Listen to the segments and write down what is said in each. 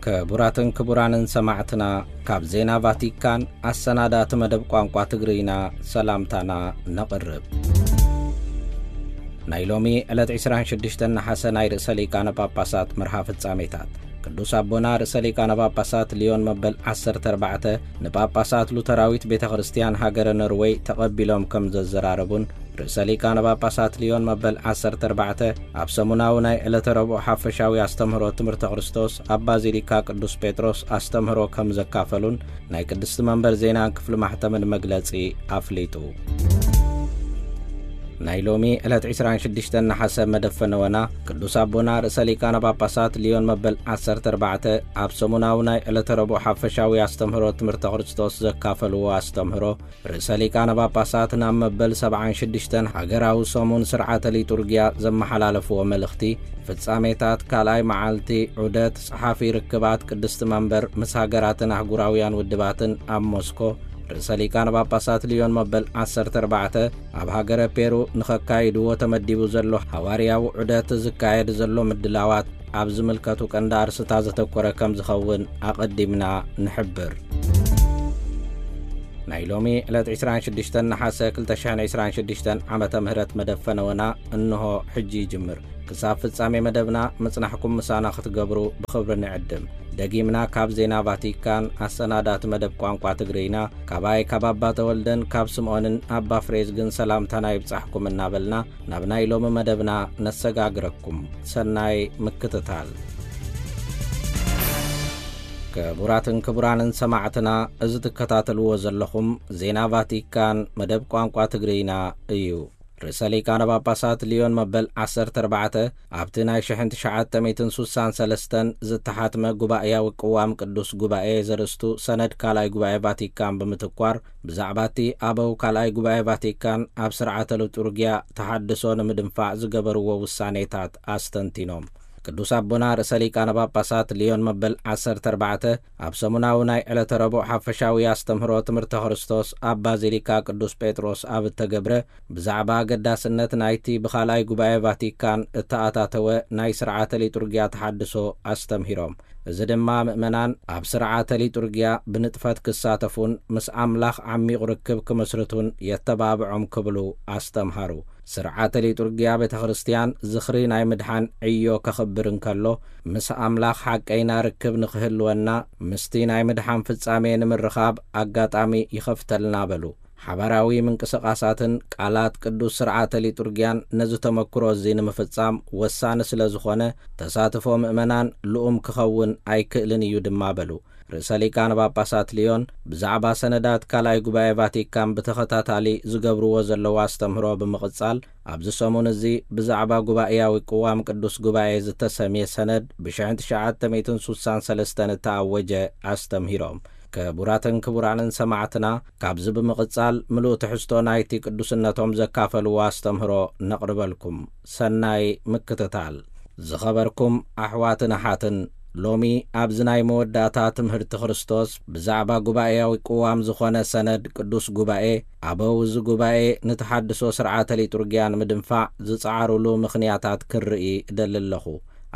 ክቡራትን ክቡራንን ሰማዕትና፣ ካብ ዜና ቫቲካን ኣሰናዳእቲ መደብ ቋንቋ ትግርይና ሰላምታና ነቕርብ። ናይ ሎሚ ዕለት ዕስራን ሽዱሽተን ነሓሰ ናይ ርእሰ ሊቃነ ጳጳሳት መርሃ ፍጻሜታት። ቅዱስ ኣቦና ርእሰ ሊቃነ ጳጳሳት ሊዮን መበል ዓሰርተ ኣርባዕተ ንጳጳሳት ሉተራዊት ቤተ ክርስቲያን ሃገረ ኖርወይ ተቐቢሎም ከም ዘዘራረቡን፣ ርእሰ ሊቃነ ጳጳሳት ሊዮን መበል ዓሰርተ ኣርባዕተ ኣብ ሰሙናዊ ናይ ዕለተ ረቡዕ ሓፈሻዊ ኣስተምህሮ ትምህርተ ክርስቶስ ኣብ ባዚሊካ ቅዱስ ጴጥሮስ ኣስተምህሮ ከም ዘካፈሉን ናይ ቅድስቲ መንበር ዜናን ክፍሊ ማሕተምን መግለጺ ኣፍሊጡ። ናይ ሎሚ ዕለት ዕስራን ሽዱሽተን ነሓሰ መደብ ፈነወና ቅዱስ ኣቦና ርእሰ ሊቃነ ጳጳሳት ሊዮን መበል ዓሰርተ ኣርባዕተ ኣብ ሰሙናዊ ናይ ዕለተ ረቡዕ ሓፈሻዊ ኣስተምህሮ ትምህርተ ክርስቶስ ዘካፈልዎ ኣስተምህሮ፣ ርእሰ ሊቃነ ጳጳሳት ናብ መበል ሰብዓን ሽዱሽተን ሃገራዊ ሰሙን ስርዓተ ሊጡርጊያ ዘመሓላለፍዎ መልእኽቲ፣ ፍጻሜታት ካልኣይ መዓልቲ ዑደት ጸሓፊ ርክባት ቅድስቲ መንበር ምስ ሃገራትን ኣህጉራውያን ውድባትን ኣብ ሞስኮ፣ ርእሰ ሊቃነ ጳጳሳት ሊዮን መበል ዓሰርተ ኣርባዕተ ኣብ ሃገረ ፔሩ ንኸካይድዎ ተመዲቡ ዘሎ ሃዋርያዊ ዑደት ዝካየድ ዘሎ ምድላዋት ኣብ ዝምልከቱ ቀንዲ ኣርስታት ዘተኮረ ከም ዝኸውን ኣቐዲምና ንሕብር። ናይ ሎሚ ዕለት ዕስራን ሽዱሽተን ነሓሰ ክልተ ሽሕን ዕስራን ሽዱሽተን ዓመተ ምህረት መደብ ፈነወና እንሆ ሕጂ ይጅምር። ክሳብ ፍጻሜ መደብና ምጽናሕኩም ምሳና ክትገብሩ ብኽብሪ ንዕድም። ደጊምና ካብ ዜና ቫቲካን ኣሰናዳእቲ መደብ ቋንቋ ትግርይና፣ ካባይ ካብ ኣባ ተወልደን ካብ ስምዖንን ኣባ ፍሬዝግን ሰላምታና ይብጻሕኩም እናበልና፣ ናብ ናይ ሎሚ መደብና ነሰጋግረኩም። ሰናይ ምክትታል። ክቡራትን ክቡራንን ሰማዕትና፣ እዚ ትከታተልዎ ዘለኹም ዜና ቫቲካን መደብ ቋንቋ ትግርይና እዩ። ርእሰ ሊቃነ ጳጳሳት ሊዮን መበል ዓሰርተ ኣርባዕተ ኣብቲ ናይ ሽሕን ትሽዓተ ሚእትን ሱሳን ሰለስተን ዝተሓትመ ጉባኤያዊ ቅዋም ቅዱስ ጉባኤ ዘርእስቱ ሰነድ ካልኣይ ጉባኤ ቫቲካን ብምትኳር፣ ብዛዕባ እቲ ኣበው ካልኣይ ጉባኤ ቫቲካን ኣብ ስርዓተ ሊጡርጊያ ተሓድሶ ንምድንፋዕ ዝገበርዎ ውሳኔታት ኣስተንቲኖም። ቅዱስ ኣቦና ርእሰ ሊቃነ ጳጳሳት ሊዮን መበል ዓሰርተ ኣርባዕተ ኣብ ሰሙናዊ ናይ ዕለተ ረቡዕ ሓፈሻዊ ኣስተምህሮ ትምህርተ ክርስቶስ ኣብ ባዚሊካ ቅዱስ ጴጥሮስ ኣብ እተገብረ፣ ብዛዕባ ኣገዳስነት ናይቲ ብኻልኣይ ጉባኤ ቫቲካን እተኣታተወ ናይ ስርዓተ ሊጡርጊያ ተሓድሶ ኣስተምሂሮም። እዚ ድማ ምእመናን ኣብ ስርዓተ ሊጡርጊያ ብንጥፈት ክሳተፉን ምስ ኣምላኽ ዓሚቕ ርክብ ክምስርቱን የተባብዖም ክብሉ ኣስተምሃሩ። ስርዓተ ሊጡርጊያ ቤተ ክርስቲያን ዝኽሪ ናይ ምድሓን ዕዮ ከኽብር እንከሎ፣ ምስ ኣምላኽ ሓቀይና ርክብ ንኽህልወና፣ ምስቲ ናይ ምድሓን ፍጻሜ ንምርኻብ ኣጋጣሚ ይኸፍተልና በሉ። ሓባራዊ ምንቅስቓሳትን ቃላት ቅዱስ ስርዓተ ሊጡርጊያን ነዚ ተመክሮ እዚ ንምፍጻም ወሳኒ ስለ ዝኾነ፣ ተሳትፎ ምእመናን ልኡም ክኸውን ኣይክእልን እዩ ድማ በሉ። ርእሰ ሊቃነ ጳጳሳት ሊዮን ብዛዕባ ሰነዳት ካልኣይ ጉባኤ ቫቲካን ብተኸታታሊ ዝገብርዎ ዘለዉ ኣስተምህሮ ብምቕጻል፣ ኣብዚ ሰሙን እዚ ብዛዕባ ጉባኤያዊ ቅዋም ቅዱስ ጉባኤ ዝተሰምየ ሰነድ ብሽሕን ትሽዓተ ሚእትን ሱሳን ሰለስተን እተኣወጀ ኣስተምሂሮም። ክቡራትን ክቡራንን ሰማዕትና፣ ካብዚ ብምቕጻል ምሉእ ትሕዝቶ ናይቲ ቅዱስነቶም ዘካፈልዎ ኣስተምህሮ ነቕርበልኩም። ሰናይ ምክትታል። ዝኸበርኩም ኣሕዋትን ኣሓትን፣ ሎሚ ኣብዚ ናይ መወዳእታ ትምህርቲ ክርስቶስ ብዛዕባ ጉባኤያዊ ቅዋም ዝኾነ ሰነድ ቅዱስ ጉባኤ፣ ኣበው እዚ ጉባኤ ንተሓድሶ ስርዓተ ሊጡርጊያ ንምድንፋዕ ዝጸዓሩሉ ምኽንያታት ክርኢ እደሊ ኣለኹ።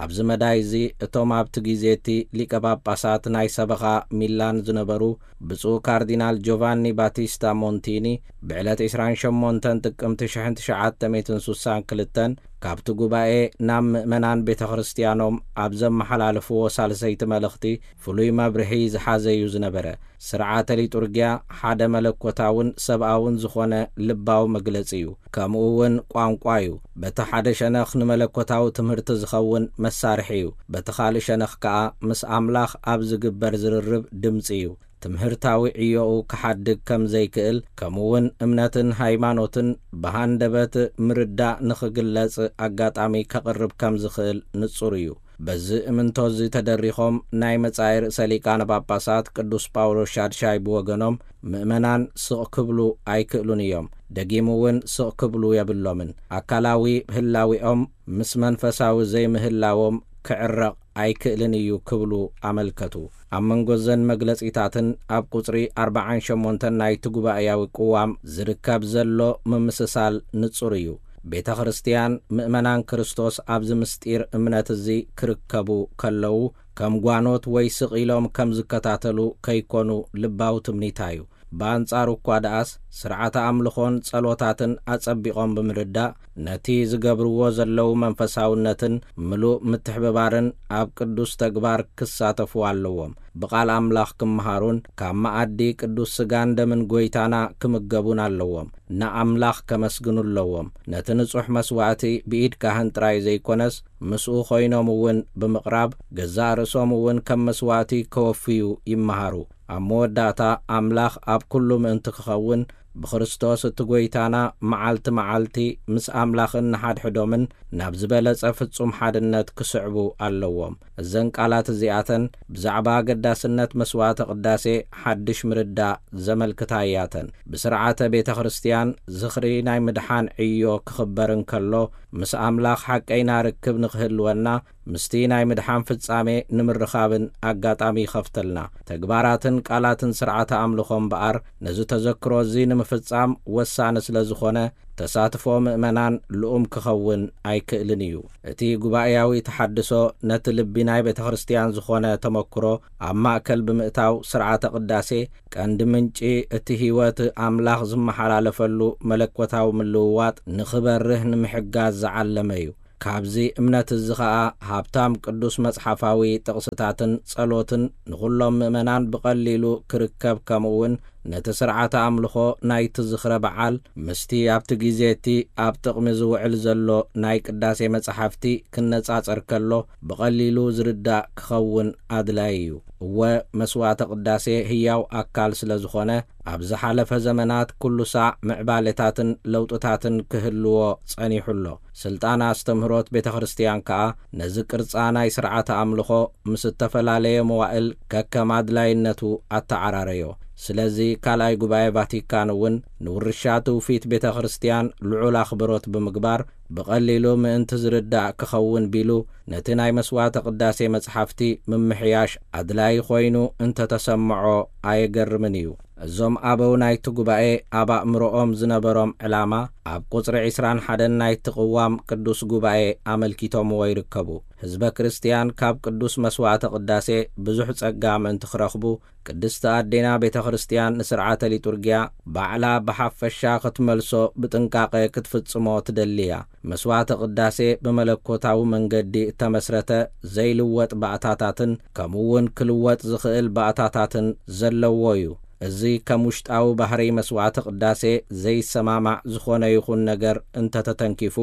ኣብዚ መዳይ እዚ እቶም ኣብቲ ግዜ እቲ ሊቀ ጳጳሳት ናይ ሰበኻ ሚላን ዝነበሩ ብፁዕ ካርዲናል ጆቫኒ ባቲስታ ሞንቲኒ ብዕለት ዕስራን ሸሞንተን ጥቅምቲ ሽሕን ትሽዓተ ሚእትን ሱሳን ክልተን ካብቲ ጉባኤ ናብ ምእመናን ቤተ ክርስቲያኖም ኣብ ዘመሓላለፍዎ ሳልሰይቲ መልእኽቲ ፍሉይ መብርሂ ዝሓዘ እዩ ዝነበረ። ስርዓተ ሊጡርጊያ ሓደ መለኮታውን ሰብኣውን ዝኾነ ልባዊ መግለጺ እዩ። ከምኡ እውን ቋንቋ እዩ። በቲ ሓደ ሸነኽ ንመለኮታዊ ትምህርቲ ዝኸውን መሳርሒ እዩ። በቲ ካልእ ሸነኽ ከኣ ምስ ኣምላኽ ኣብ ዝግበር ዝርርብ ድምጺ እዩ። ትምህርታዊ ዕዮኡ ክሓድግ ከም ዘይክእል፣ ከምኡ እውን እምነትን ሃይማኖትን ብሃንደበት ምርዳእ ንኽግለጽ ኣጋጣሚ ከቕርብ ከም ዝኽእል ንጹር እዩ። በዚ እምንቶ እዚ ተደሪኾም ናይ መጻኢ ርእሰ ሊቃነ ጳጳሳት ቅዱስ ጳውሎስ ሻድሻይ ብወገኖም፣ ምእመናን ስቕ ክብሉ ኣይክእሉን እዮም። ደጊሙ እውን ስቕ ክብሉ የብሎምን። ኣካላዊ ህላዊኦም ምስ መንፈሳዊ ዘይምህላዎም ክዕረቕ ኣይክእልን እዩ ክብሉ ኣመልከቱ። ኣብ መንጎ ዘን መግለጺታትን ኣብ ቁጽሪ ኣርባዓን ሸሞንተን ናይቲ ጉባኤያዊ ቅዋም ዝርከብ ዘሎ ምምስሳል ንጹር እዩ። ቤተ ክርስቲያን ምእመናን ክርስቶስ ኣብዚ ምስጢር እምነት እዚ ክርከቡ ከለዉ ከም ጓኖት ወይ ስቕ ኢሎም ከም ዝከታተሉ ከይኮኑ ልባዊ ትምኒታ እዩ። ብኣንጻሩ እኳ ደኣስ ስርዓተ ኣምልኾን ጸሎታትን ኣጸቢቖም ብምርዳእ ነቲ ዝገብርዎ ዘለዉ መንፈሳውነትን ምሉእ ምትሕብባርን ኣብ ቅዱስ ተግባር ክሳተፉ ኣለዎም። ብቓል ኣምላኽ ክመሃሩን ካብ መኣዲ ቅዱስ ስጋን ደምን ጐይታና ክምገቡን ኣለዎም። ንኣምላኽ ከመስግኑ ኣለዎም። ነቲ ንጹሕ መስዋእቲ ብኢድ ካህን ጥራይ ዘይኮነስ ምስኡ ኮይኖም እውን ብምቕራብ ገዛእ ርእሶም እውን ከም መስዋእቲ ከወፍዩ ይመሃሩ። ኣብ መወዳእታ ኣምላኽ ኣብ ኩሉ ምእንቲ ክኸውን ብክርስቶስ እቲ ጐይታና መዓልቲ መዓልቲ ምስ ኣምላኽን ንሓድሕዶምን ናብ ዝበለጸ ፍጹም ሓድነት ክስዕቡ ኣለዎም። እዘን ቃላት እዚኣተን ብዛዕባ ኣገዳስነት መስዋዕተ ቅዳሴ ሓድሽ ምርዳእ ዘመልክታ እያተን። ብስርዓተ ቤተ ክርስቲያን ዝኽሪ ናይ ምድሓን ዕዮ ክኽበር እንከሎ ምስ ኣምላኽ ሓቀይና ርክብ ንኽህልወና ምስቲ ናይ ምድሓን ፍጻሜ ንምርኻብን ኣጋጣሚ ይኸፍተልና። ተግባራትን ቃላትን ስርዓተ ኣምልኾ እምበኣር ነዚ ተዘክሮ እዚ ንምፍጻም ወሳኒ ስለ ዝኾነ ተሳትፎ ምእመናን ልኡም ክኸውን ኣይክእልን እዩ። እቲ ጉባኤያዊ ተሓድሶ ነቲ ልቢ ናይ ቤተ ክርስቲያን ዝኾነ ተመክሮ ኣብ ማእከል ብምእታው ስርዓተ ቅዳሴ ቀንዲ ምንጪ እቲ ህይወት ኣምላኽ ዝመሓላለፈሉ መለኮታዊ ምልውዋጥ ንኽበርህ ንምሕጋዝ ዝዓለመ እዩ። ካብዚ እምነት እዚ ኸኣ ሃብታም ቅዱስ መጽሓፋዊ ጥቕስታትን ጸሎትን ንኹሎም ምእመናን ብቐሊሉ ክርከብ ከምኡውን ነቲ ስርዓተ ኣምልኾ ናይቲ ዝኽረ በዓል ምስቲ ኣብቲ ግዜ እቲ ኣብ ጥቕሚ ዝውዕል ዘሎ ናይ ቅዳሴ መጻሕፍቲ ክነጻጸር ከሎ ብቐሊሉ ዝርዳእ ክኸውን ኣድላዪ እዩ። እወ መስዋዕተ ቅዳሴ ህያው ኣካል ስለ ዝኾነ ኣብ ዝሓለፈ ዘመናት ኩሉ ሳዕ ምዕባሌታትን ለውጥታትን ክህልዎ ጸኒሑ ኣሎ። ስልጣን ኣስተምህሮት ቤተ ክርስቲያን ከኣ ነዚ ቅርጻ ናይ ስርዓተ ኣምልኾ ምስ እተፈላለየ መዋእል ከከም ኣድላይነቱ ኣተዓራረዮ። ስለዚ ካልኣይ ጉባኤ ቫቲካን እውን ንውርሻ ትውፊት ቤተ ክርስቲያን ልዑል ኣኽብሮት ብምግባር ብቐሊሉ ምእንቲ ዝርዳእ ክኸውን ቢሉ ነቲ ናይ መስዋዕተ ቅዳሴ መጽሓፍቲ ምምሕያሽ ኣድላዪ ኮይኑ እንተተሰምዖ ኣየገርምን እዩ። እዞም ኣበው ናይቲ ጉባኤ ኣብ ኣእምሮኦም ዝነበሮም ዕላማ ኣብ ቁጽሪ ዕስራን ሓደን ናይቲ ቅዋም ቅዱስ ጉባኤ ኣመልኪቶምዎ ይርከቡ። ህዝበ ክርስቲያን ካብ ቅዱስ መስዋዕተ ቅዳሴ ብዙሕ ጸጋ ምእንቲ ክረኽቡ ቅድስቲ ኣዴና ቤተ ክርስቲያን ንስርዓተ ሊጡርጊያ ባዕላ ብሓፈሻ ክትመልሶ ብጥንቃቐ ክትፍጽሞ ትደሊ እያ። መስዋዕተ ቅዳሴ ብመለኮታዊ መንገዲ እተመስረተ ዘይልወጥ ባእታታትን ከምኡ እውን ክልወጥ ዝኽእል ባእታታትን ዘለዎ እዩ። እዚ ከም ውሽጣዊ ባህሪ መስዋዕተ ቅዳሴ ዘይሰማማዕ ዝኾነ ይኹን ነገር እንተተተንኪፉ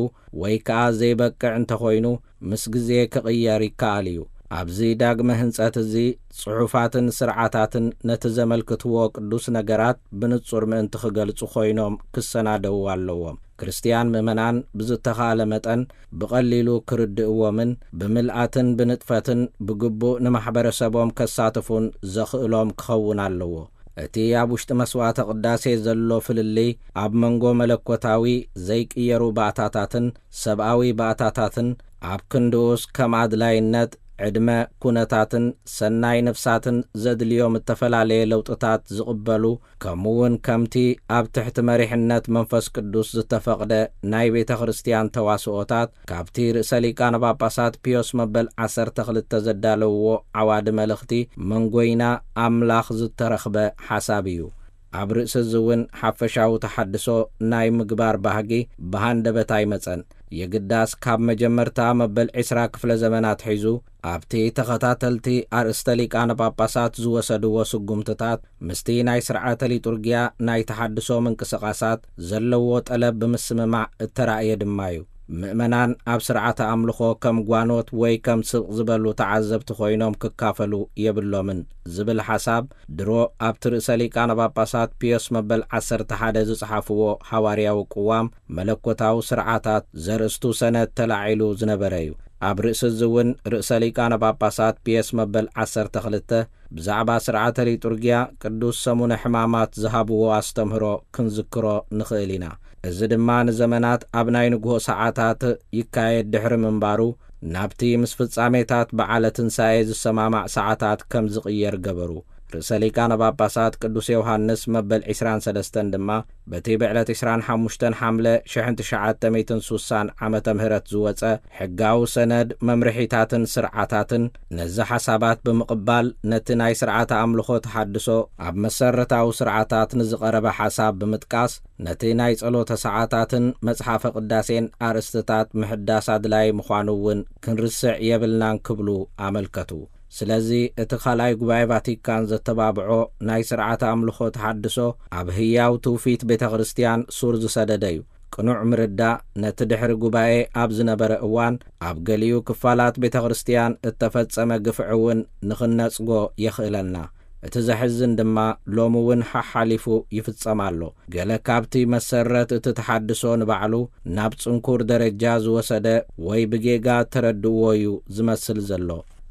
ወይ ከኣ ዘይበቅዕ እንተኾይኑ ምስ ግዜ ክቕየር ይከኣል እዩ። ኣብዚ ዳግመ ህንጸት እዚ ጽሑፋትን ስርዓታትን ነቲ ዘመልክትዎ ቅዱስ ነገራት ብንጹር ምእንቲ ክገልጹ ኮይኖም ክሰናደዉ ኣለዎም። ክርስትያን ምእመናን ብዝተኻእለ መጠን ብቐሊሉ ክርድእዎምን ብምልኣትን ብንጥፈትን ብግቡእ ንማሕበረሰቦም ከሳትፉን ዘኽእሎም ክኸውን ኣለዎ። እቲ ኣብ ውሽጢ መስዋዕተ ቅዳሴ ዘሎ ፍልልይ ኣብ መንጎ መለኮታዊ ዘይቅየሩ ባእታታትን ሰብኣዊ ባእታታትን ኣብ ክንድኡስ ከም ኣድላይነት ዕድመ ኩነታትን ሰናይ ነፍሳትን ዘድልዮም እተፈላለየ ለውጥታት ዝቕበሉ ከምኡውን ከምቲ ኣብ ትሕቲ መሪሕነት መንፈስ ቅዱስ ዝተፈቕደ ናይ ቤተ ክርስቲያን ተዋስኦታት ካብቲ ርእሰ ሊቃነ ጳጳሳት ፒዮስ መበል ዓሰርተ ክልተ ዘዳለውዎ ዓዋዲ መልእኽቲ መንጎይና ኣምላኽ ዝተረኽበ ሓሳብ እዩ። ኣብ ርእሲ እዚ እውን ሓፈሻዊ ተሓድሶ ናይ ምግባር ባህጊ ብሃንደበት ኣይመጸን። የግዳስ ካብ መጀመርታ መበል ዕስራ ክፍለ ዘመናት ሒዙ ኣብቲ ተኸታተልቲ ኣርእስተ ሊቃነ ጳጳሳት ዝወሰድዎ ስጉምትታት ምስቲ ናይ ስርዓተ ሊጡርጊያ ናይ ተሓድሶ ምንቅስቓሳት ዘለዎ ጠለብ ብምስምማዕ እተራእየ ድማ እዩ። ምእመናን ኣብ ስርዓተ ኣምልኾ ከም ጓኖት ወይ ከም ስቕ ዝበሉ ተዓዘብቲ ኮይኖም ክካፈሉ የብሎምን ዝብል ሓሳብ ድሮ ኣብቲ ርእሰ ሊቃነ ጳጳሳት ፒዮስ መበል ዓሰርተ ሓደ ዝጸሓፍዎ ሓዋርያዊ ቅዋም መለኮታዊ ስርዓታት ዘርእስቱ ሰነድ ተላዒሉ ዝነበረ እዩ። ኣብ ርእሲ እዚ እውን ርእሰ ሊቃነ ጳጳሳት ፒየስ መበል ዓሰርተ ክልተ ብዛዕባ ስርዓተ ሊጡርጊያ ቅዱስ ሰሙነ ሕማማት ዝሃብዎ ኣስተምህሮ ክንዝክሮ ንኽእል ኢና። እዚ ድማ ንዘመናት ኣብ ናይ ንግሆ ሰዓታት ይካየድ ድሕሪ ምንባሩ ናብቲ ምስ ፍጻሜታት በዓለ ትንሳኤ ዝሰማማዕ ሰዓታት ከም ዝቕየር ገበሩ። ርእሰ ሊቃነ ጳጳሳት ቅዱስ ዮሃንስ መበል ዕስራን ሰለስተን ድማ በቲ ብዕለት ዕስራን ሓሙሽተን ሓምለ ሽሕን ትሽዓተ ሚእትን ሱሳን ዓመተ ምህረት ዝወጸ ሕጋዊ ሰነድ መምርሒታትን ስርዓታትን ነዚ ሓሳባት ብምቕባል ነቲ ናይ ስርዓተ ኣምልኾ ተሓድሶ ኣብ መሰረታዊ ስርዓታት ንዝቐረበ ሓሳብ ብምጥቃስ ነቲ ናይ ጸሎተ ሰዓታትን መጽሓፈ ቅዳሴን ኣርእስትታት ምሕዳስ ኣድላዪ ምዃኑ እውን ክንርስዕ የብልናን ክብሉ ኣመልከቱ። ስለዚ እቲ ካልኣይ ጉባኤ ቫቲካን ዘተባብዖ ናይ ስርዓተ ኣምልኾ ተሓድሶ ኣብ ህያው ትውፊት ቤተ ክርስቲያን ሱር ዝሰደደ እዩ። ቅኑዕ ምርዳእ ነቲ ድሕሪ ጉባኤ ኣብ ዝነበረ እዋን ኣብ ገሊኡ ክፋላት ቤተ ክርስቲያን እተፈጸመ ግፍዒ እውን ንኽነጽጎ የኽእለና። እቲ ዘሕዝን ድማ ሎሚ እውን ሓሓሊፉ ይፍጸም ኣሎ። ገለ ካብቲ መሰረት እቲ ተሓድሶ ንባዕሉ ናብ ጽንኩር ደረጃ ዝወሰደ ወይ ብጌጋ ተረድእዎ እዩ ዝመስል ዘሎ።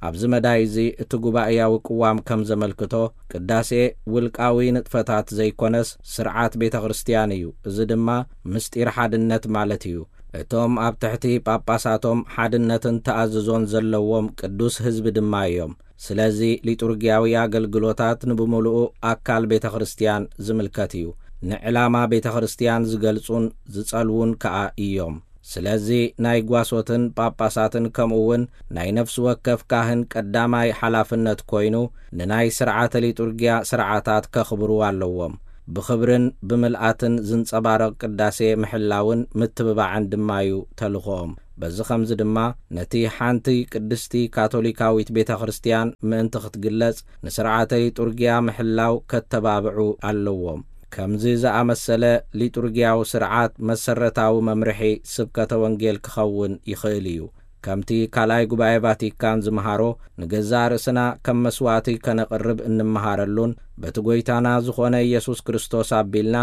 ኣብዚ መዳይ እዚ እቲ ጉባኤያዊ ቅዋም ከም ዘመልክቶ ቅዳሴ ውልቃዊ ንጥፈታት ዘይኮነስ ስርዓት ቤተ ክርስቲያን እዩ። እዚ ድማ ምስጢር ሓድነት ማለት እዩ። እቶም ኣብ ትሕቲ ጳጳሳቶም ሓድነትን ተኣዝዞን ዘለዎም ቅዱስ ህዝቢ ድማ እዮም። ስለዚ ሊጡርጊያዊ ኣገልግሎታት ንብምሉኡ ኣካል ቤተ ክርስቲያን ዝምልከት እዩ። ንዕላማ ቤተ ክርስቲያን ዝገልጹን ዝጸልዉን ከኣ እዮም። ስለዚ ናይ ጓሶትን ጳጳሳትን ከምኡ እውን ናይ ነፍሲ ወከፍ ካህን ቀዳማይ ሓላፍነት ኮይኑ ንናይ ስርዓተ ሊጡርጊያ ስርዓታት ከኽብሩ ኣለዎም። ብኽብርን ብምልኣትን ዝንጸባረቕ ቅዳሴ ምሕላውን ምትብባዕን ድማ እዩ ተልእኾኦም። በዚ ኸምዚ ድማ ነቲ ሓንቲ ቅድስቲ ካቶሊካዊት ቤተ ክርስቲያን ምእንቲ ክትግለጽ ንስርዓተ ሊጡርጊያ ምሕላው ከተባብዑ ኣለዎም። ከምዚ ዝኣመሰለ ሊጡርጊያዊ ስርዓት መሰረታዊ መምርሒ ስብከተ ወንጌል ክኸውን ይኽእል እዩ። ከምቲ ካልኣይ ጉባኤ ቫቲካን ዝመሃሮ ንገዛእ ርእስና ከም መስዋእቲ ከነቕርብ እንመሃረሉን በቲ ጐይታና ዝኾነ ኢየሱስ ክርስቶስ ኣቢልና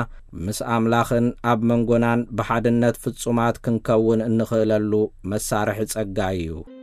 ምስ ኣምላኽን ኣብ መንጎናን ብሓድነት ፍጹማት ክንከውን እንኽእለሉ መሳርሒ ጸጋ እዩ።